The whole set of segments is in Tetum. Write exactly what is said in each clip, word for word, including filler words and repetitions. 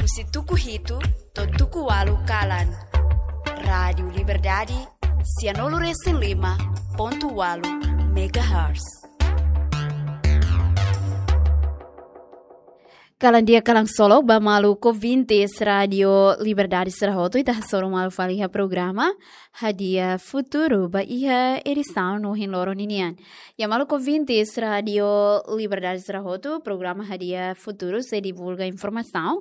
Husi tuku hitu to'o tuku ualu kalan. Rádiu Liberdade, sianulu resin lima pontu ualu megahertz. Kalan di'ak, kalan solok ba maluk ouvintes Rádiu Liberdade sira hotu, ita hasoru malu fali iha programa Hadi'a Futuru ba iha edisaun ohin loron ninian. Ya maluk ouvintes Rádiu Liberdade sira hotu, programa Hadi'a Futuru sei divulga informasaun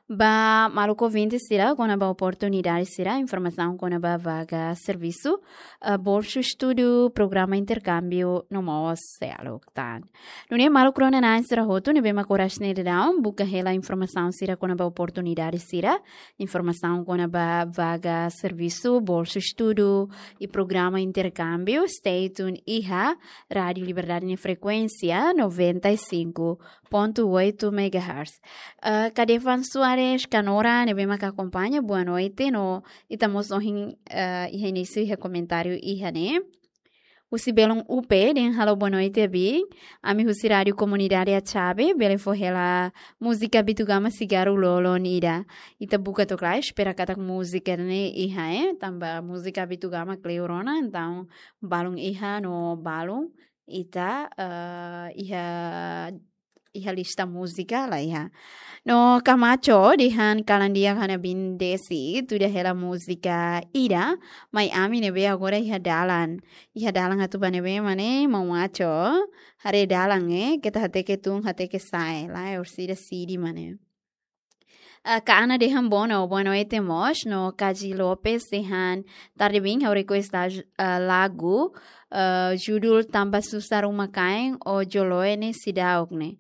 ba maluk ouvintes sira kona-ba oportunidade sira, informasaun kona-ba vaga servisu, eh, bolsu estudu, programa interkámbiu no mós seluk tan. Nune'e maluk rona-na'in sira hotu ne'ebé mak oras ne'e daudaun buka hela informasaun sira kona-ba oportunidade sira, informasaun kona-ba vaga servisu, bolsu estudu i programa interkámbiu, stay tune iha Rádiu Liberdade nia frekuénsia noventa e cinco ponto oito megahertz. Eh, Kadevan Soares Kanora ne'ebé mak akompaña, boa noite, no ita mós ohin, eh, iha inísiu iha komentáriu iha ne'e. Husi belun U P dehan halo boa noite, Abi. Ami husi Rádiu Komunidade Atxabe, bele fó hela múzika Bitu Gama Sigaru Lolon ida. Ita buka to'ok lai, espera katak múzika ne'e iha, eh, tanba múzika Bitu Gama kleur ona, entaun balun iha no balun ita, eh, iha, iha lista múzika la iha. No Kamacho dehan kalan di'ak, ha'u-nia biin Desi tuda hela múzika ida, mai ami ne'ebé agora iha dalan. Iha dalan atu bá ne'ebé mak ne'e, maun Macho? Haree dalan, eh, keta hateke tun, hateke sa'e, lae, orsida sidi mak ne'e. Ah, Ka Ana dehan boa no-, boa noite mós, no Kaji Lopes dehan tarde biin, ha'u request la-, ah, lagu, ah, judul Tanba Susar Uma Kain, Ojo Loe ne'e seidauk ne'e.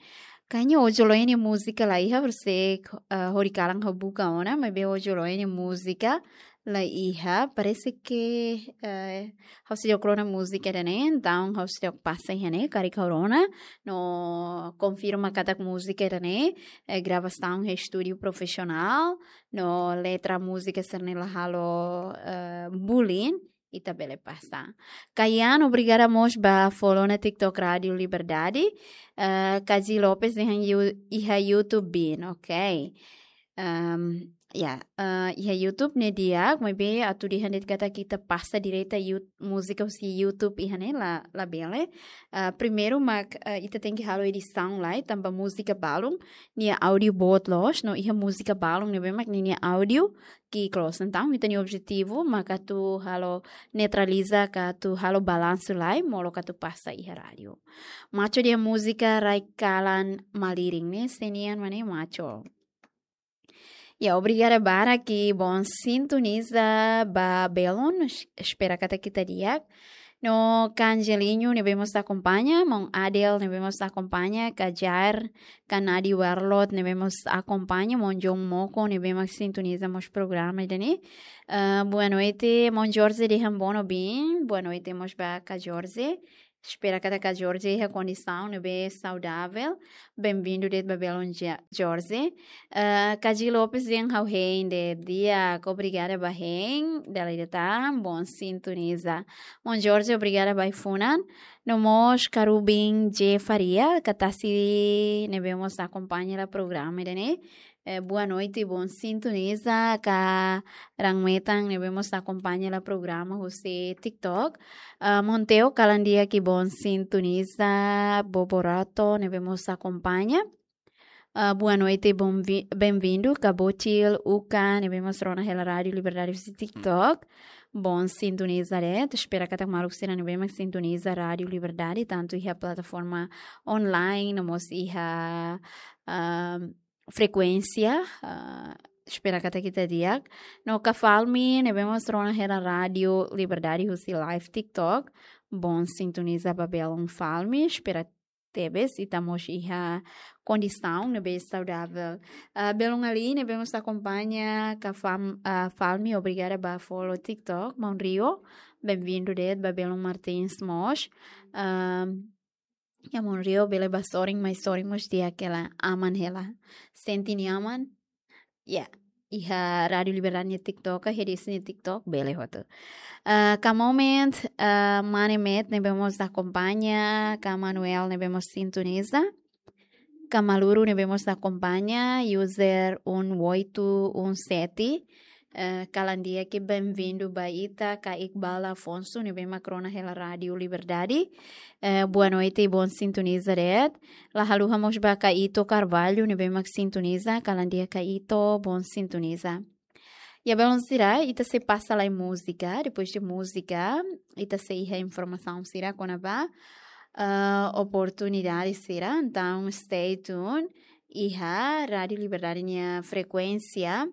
Kayaknya Ojo Loe ne'e múzika la iha, horiseik, ah, hori kalan ha'u buka ona, maibé Ojo Loe ne'e múzika la iha, parese ke, eh, ha'u seidauk rona múzika ida-ne'e, entaun ha'u seidauk pasa iha ne'e, karik ha'u rona, no konfirma katak múzika ida-ne'e, eh, gravasaun iha estúdiu profisionál, no letra múzika sira-ne'e la halo, eh, bullying, ita bele pasa. Kayan, obrigada mós ba follow ona TikTok Rádiu Liberdade. Eh, Kaji Lopes dehan yu-, iha YouTube biin, ok. Ehm, ya, eh, iha YouTube ne'e di'ak, maibé atu dehan de'it katak ita pasa direta Yout-, múzika husi YouTube iha ne'e la, labele. Eh, primeiru mak, eh, ita tenke halo edisaun lai, tanba múzika balun nia áudiu boot loos, no iha múzika balun ne'ebé mak ninia áudiu ki'ik loos. Entaun, ita-nia objetivu mak atu halo neutraliza ka atu halo balansu lai, molok atu pasa iha rádiu. Macho dehan múzika Rai Kalan Malirin ne'e, sé nian mak ne'e Macho? Ya, obrigada barak ba ita-boot sintoniza ba belun, es-, espera katak ita di'ak. No Ka Angelinho ne'ebé mós akompaña, maun Adel ne'ebé mós akompaña, Ka Jair, Ka Nadi Warlot ne'ebé mós akompaña, maun John Moko ne'ebé mak sintoniza mós programa ida-ne'e. Ah, boa noite, maun Jorge dehan boa no biin, boa noite mós ba Ka Jorge. Espera katak Ka Jorge iha kondisaun ne'ebé saudavel. Benvindu de'it ba belun Ja-, Jorge. Eh, Kaji Lopes dehan ha'u hein de'it, di'ak, obrigada ba hein, dala ida tan, boot sintoniza. Maun Jorge, obrigada ba ai-funan. No mós Ka Rubin J Faria, Ka Tasi ne'ebé mós akompaña hela programa ida-ne'e. Eh, boa noite, boot sintoniza, Ka Rang Metan ne'ebé mós akompaña hela programa husi TikTok. Ah, Monteo, kalan di'ak i boot sintoniza, Boborato ne'ebé mós akompaña. Ah, boa noite, bom vi-, benvindu, Ka Bocil, Uka ne'ebé mós rona hela Rádiu Liberdade husi TikTok. Boot sintoniza de'it, espera katak maluk sira ne'ebé mak sintoniza Rádiu Liberdade, tantu iha plataforma online, no mós iha, ah, frekuénsia, ah, espera katak ita di'ak. No Ka Falmi ne'ebé mós rona hela Rádiu Liberdade husi live TikTok. Boot sintoniza ba belun Falmi, espera tebes ita mós iha kondisaun ne'ebé saudavel. Ah, belun Ali ne'ebé mós akompaña Ka Fam-, ah, Falmi, obrigada ba follow TikTok. Maun Rio, benvindu de'it ba belun Martins mós. Ah, ya, maun Rio, bele bá sorin, mai sorin mós di'ak hela, aman hela. Sente nia aman. Ya, iha Rádiu Liberdade nia TikTok, iha Desi nia TikTok, bele hotu. Ah, Ka Moment, ah, Mane Met ne'ebé mós akompaña, Ka Manuel ne'ebé mós sintoniza. Kamaluru ne'ebé mós akompaña, user um oito um sete. Eh, kalan di'ak, benvindu ba ita, ka Iqbal Afonso, ne'ebé mak rona hela Rádiu Liberdade. Eh, boa noite, bom sintoniza de'it. La haluha mós ba ka Ito Carvalho, ne'ebé mak sintoniza, kalan di'ak ka Ito, bom sintoniza. Ya, belun sira, ita sei pasa lai múzika, depois de múzika, ita sei iha informasaun sira kona-ba, ah, oportunidade sira, entaun stay tuned, iha Rádiu Liberdade nia frekuénsia,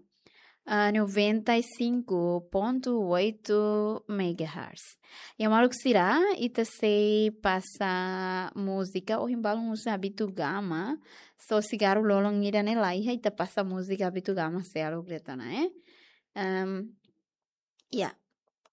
ah, noventa e cinco ponto oito megahertz. Ya, maluk sira, ita sei pasa múzika, ohin balun uza Habitu Gama, só sigarru lolon ida ne'e la iha, ita pasa múzika Habitu Gama seluk de'it ona, eh. Em, ya,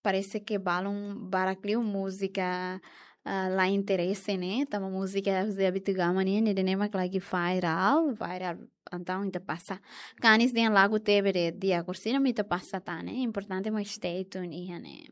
parese ke balun barak liu múzika, ah, la interese ne'e, tanba múzika husi Habitu Gama nian, ne'e ida ne'e mak lagi viral, viral, entaun ita pasa. Kanis dehan lagu tebe de'it, di'ak, orsida mak ita pasa tan ne'e, importante mak stay tuned iha ne'e.